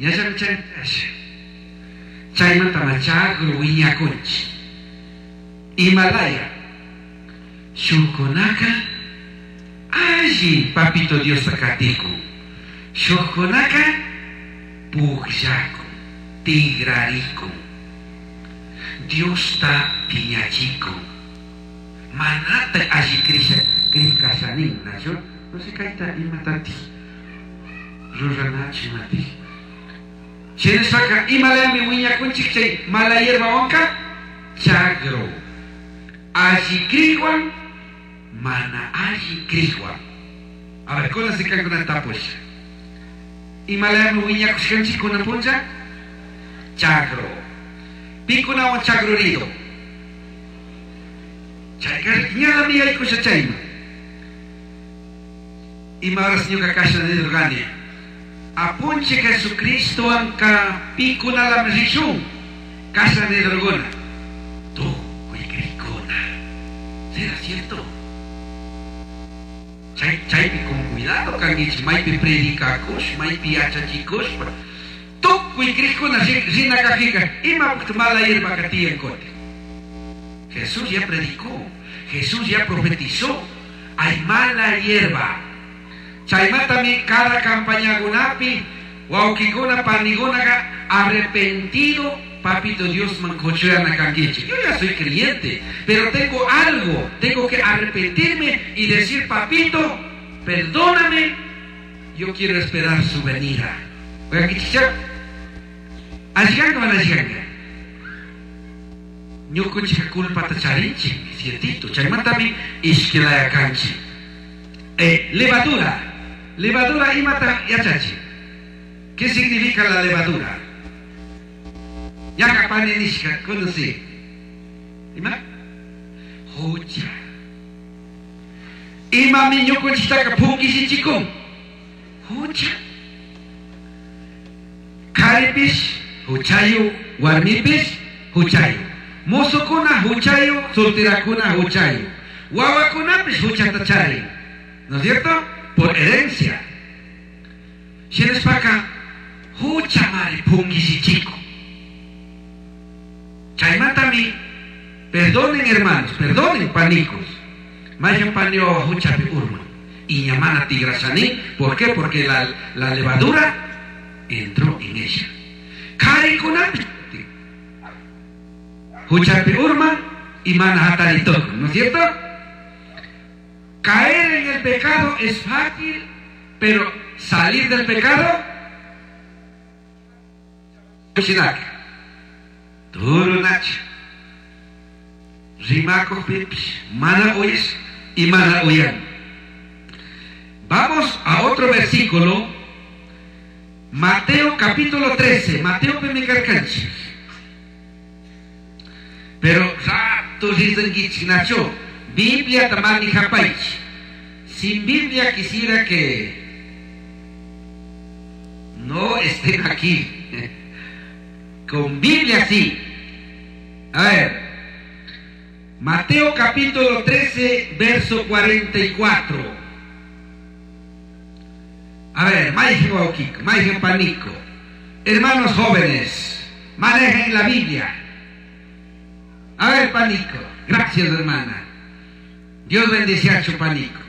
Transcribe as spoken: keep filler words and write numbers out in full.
Ñallami chaynasha. Chaymanta chagru wiñakunchik. Himalaya. Shukkunaka alli papito Diosta katikun. Shukkunaka pukllakun, tigrarikun. Diosta piñachikun. Manata alli krisha krikashanin, nachu? No sé kayta imatati. Ruranachi mati. Shinashpaka imalayami wiñakunchik chay mala hierbawanka chagro. Alli krikwan mana alli krikwan. A ver, kunan si kankuna tapusha. Imalayami wiñakushkanchik kunan puncha? Chagro. Pikunawan chagrurido. Chayka ñallami yaykusha chayman. Ima horas ñuka kasha nirqani. Apunchik Jesucristowanka pikunalami rishun. Kasha nirquna. Tukuy krikuna. ¿Será cierto? Chay, chaypi con cuidado kankichik maypi predicakush, maypi yachachikushpa. Tukuy krikuna rina kajika imapaq mala hierbaka tiyan kutin. Jesús ya predicó, Jesús ya profetizó. Hay mala hierba. Chaymatami cada campañakunapi wawkikuna panikunaka arrepentido papito Dios mancochuyana kankichik. Yo ya soy creyente, pero tengo algo, tengo que arrepentirme y decir, papito, perdóname, yo quiero esperar su venida. Oiga, Alliganga mana alliganga. Ñukunchik culpata charinchik, ciertito. Chaymatami ishkilaya kanchik. Eh, levadura. Levadura imata yachachi. ¿Qué significa la levadura? Yaka pani nishka, conocí. Ima? Hucha. Imami ñukunchiktaka punkishichikun. Hucha. Karipish, huchayu, warmipish, huchayu. Mozokuna huchayu, solterakuna huchayu. Wawakunapish huchata charin. ¿No es cierto? Por herencia. Shinashpaka huchamari punkishichikun. Chaymatami, perdonen hermanos, perdonen panicos. Mayan panio huchapi urman. Y ñamana tigrasani. ¿Por qué? Porque la, la levadura entró en ella. Karikunapi huchapi urman y mana hataritoku, ¿no es cierto? Caer en el pecado es fácil, pero salir del pecado, duro nacha. Rimako pipish, mana uyes y mana uyan. Vamos a otro versículo, Mateo capítulo trece, Mateo pemikarkanchik. Pero rato risankichik nacho, Biblia tamani japaich. Sin Biblia quisiera que no estén aquí. Con Biblia sí. A ver, Mateo capítulo trece, verso cuarenta y cuatro. A ver, Maijen Waukiko, Maijen Panico. Hermanos jóvenes, manejen la Biblia. A ver, Panico. Gracias, hermana. Dios bendice a su Panico.